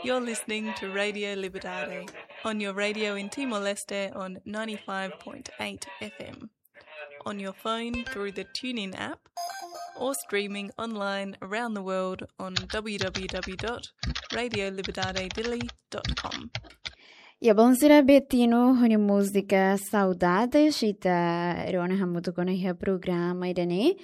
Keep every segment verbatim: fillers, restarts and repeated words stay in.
You're listening to Radio Liberdade on your radio in Timor-Leste on ninety-five point eight F M, on your phone through the TuneIn app, or streaming online around the world on w w w dot radio liberdade dili dot com. Ya, bon, sira Betino ho nia múzika Saudades, ita rona hamutuk ona iha programa ida-ne'e.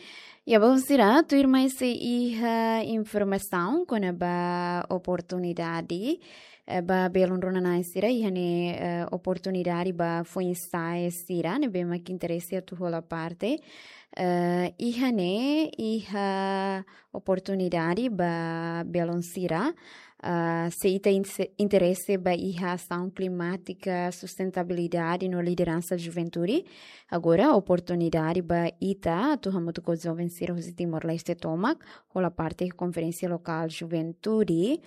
Ya, bon, sira, tuirmai sei iha informasaun kona-ba oportunidade, eh, ba belun rona-na'in sira, iha ne'e, eh, oportunidade ba foin-sa'e sira ne'ebé mak interese atu hola parte. Eh, iha ne'e, iha oportunidade ba belun sira, ah, se ita inse-, interese ba iha asaun klimátika, sustentabilidade no lideransa juventude. Agora, oportunidade ba ita atu hamutuk ho joven sira husi Timor-Leste tomak, hola parte konferénsia lokál juventude,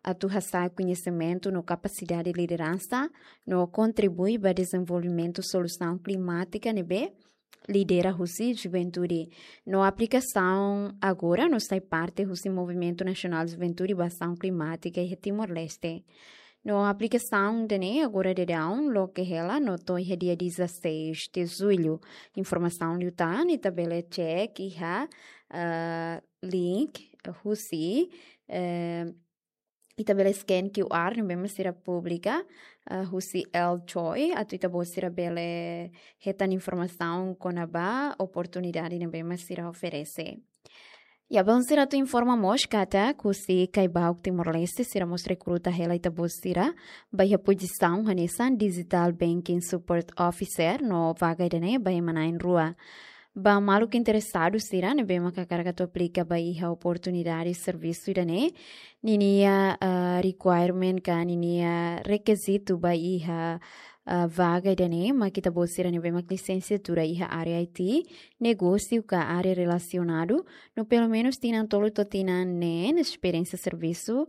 atu hasa'e koñesimentu no kapasidade lideransa, no kontribui ba dezenvolvimentu solusaun klimátika ne'ebé lidera husi juventude. No aplikasaun agora no sai parte husi Movimentu Nasionál Juventude ba Asaun Klimátika iha Timor-Leste. No aplikasaun ida-ne'e agora daudaun loke hela no to'o iha dia dezasseis de julho. Informasaun liután ita bele cek iha, eh, link husi, eh, ita bele scan Q R ne'ebé mak sira publika, eh, husi L Choi, atu ita-boot sira bele hetan informasaun kona-ba oportunidade ne'ebé mak sira oferese. Ya, bon, sira, atu informa mós katak husi Caibauk Timor-Leste sira mós rekruta hela ita-boot sira ba iha pozisaun hanesan Digital Banking Support Officer, no vaga ida-ne'e ba ema na'in rua. Ba maluk interesadu sira ne'ebé mak hakarak atu aplika ba iha oportunidade servisu ida-ne'e, ninia, ah, requirement ka ninia rekizitu ba iha, ah, vaga ida-ne'e mak ita-boot sira ne'ebé mak lisensiatura iha área I T, negósiu ka área relasionadu, no pelumenus tinan tolu to'o tinan neen esperiénsia servisu,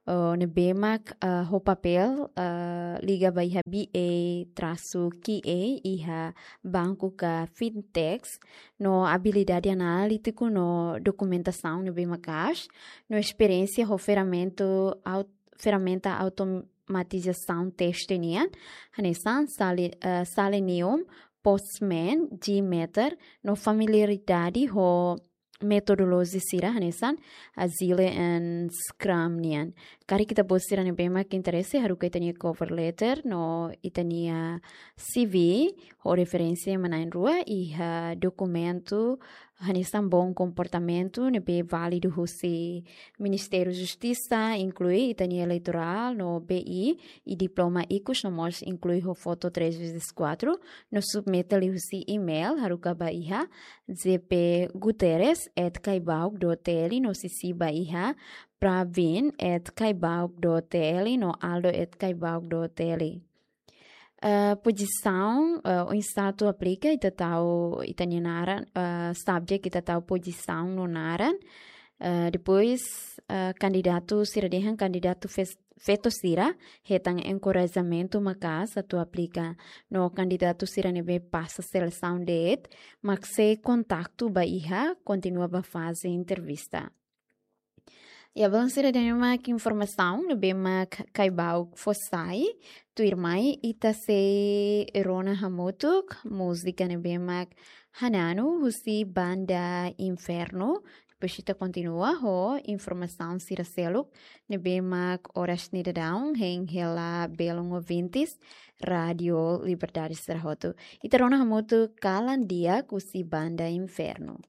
eh, ne'ebé mak, eh, ho papél, eh, liga ba iha B A trasu Q A iha banku ka fintechs, no abilidade analítiku no dokumentasaun ne'ebé maka'as, no esperiénsia ho ferramenta aut-, ferramenta automatizasaun teste nian, hanesan Sele-, eh, Selenium, Postman, JMeter, no familiaridade ho metodolojia sira hanesan Agile and Scrum nian. Karik ita-boot sira ne'ebé mak interese, haruka ita-nia cover letter no ita-nia C V ho referénsia ema na'in rua, iha dokumentu hanesan bom comportamento ne'ebé válidu husi Ministériu Justisa, inklui ita-nia eleitorál no B I, i diploma ikus no mós inklui ho foto três vezes quatro, no submete liuhusi email haruka ba iha J P Guterres at caibauk dot T L, no sisi ba iha Pravin at caibauk dot T L no Aldo at caibauk dot T L. Eh, pozisaun, eh, oinsá atu aplika, ita tau ita-nia naran, eh, subject ita tau pozisaun no naran. Eh, depois, eh, kandidatu sira dehan kandidatu fes-, feto sira hetan enkorajamentu maka'as atu aplika. No kandidatu sira ne'ebé pasa selesaun de'it mak sei kontaktu ba iha, kontinua ba faze entrevista. Ya, bon, sira, ida-ne'e mak informasaun ne'ebé mak Caibauk fó sai. Tuirmai ita sei rona hamutuk múzika ne'ebé mak Hananu husi Banda Inferno. Depois ita kontinua ho informasaun sira seluk ne'ebé mak oras ne'e daudaun hein hela belun ouvintes Rádio Liberdade sira hotu. Ita rona hamutuk Kalan Di'ak husi Banda Inferno.